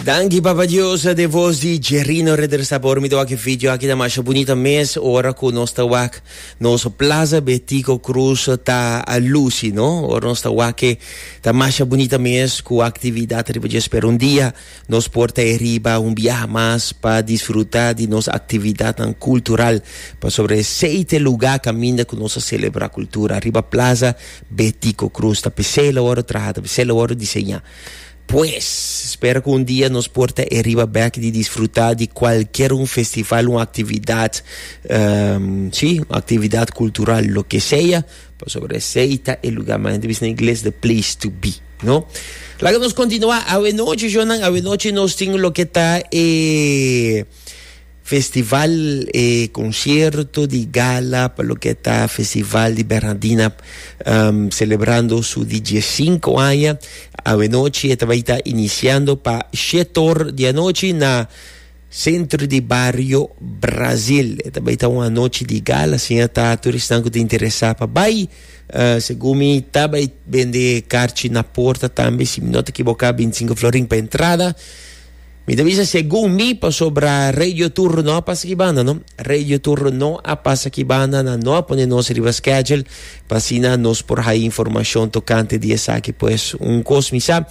Danki Papa Dios, den voz di Jerino Ridder Sabor. Mi ta wak e video aki ta masha bunita mes ora ku nos ta wak nos Plaza Betico Cruz ta a lusi, no? Ora nos ta wak e ta masha bunita mes ku aktividat riba dje. Spera un dia nos por ta e riba un biaha mas pa disfruta di nos aktividatnan kultural, pasobra esei ta e luga kaminda ku nos a selebra kultura riba Plaza Betico Cruz. Ta p'esei lo wòrdu traha, ta p'esei lo wòrdu diseñá. Pues, spera cu un dia nos por ta e riba bek di disfruta di cualkier un festival, un actividad, si, un actividad cultural, lo que sea, pasobra esey ta e lugar, manera ta bisa na ingles, the place to be, no? Laga nos continua awe nochi, shownan, awe nochi nos tin loke ta e Festival e concierto di gala pa loke ta Festival di Bernardina celebrando su di diescinco aña. Awenochi e ta bay ta iniciando pa shetor di anochi na Centro di Bario Brazil. E ta bay ta un anochi di gala, asina ta tur esnan cu ta interesa pa bay. Segun mi ta bay bende carchi na porta tambe, si mi no ta equiboca, 25 florin pa entrada. Mi ta bisa segun mi pasobra Radio Tour no a pasa aki banda no. Radio Tour no a pasa aki banda, nan no a pone nos riba schedule pa asina nos por haya informacion tocante di esaki. Pues un cos mi sa.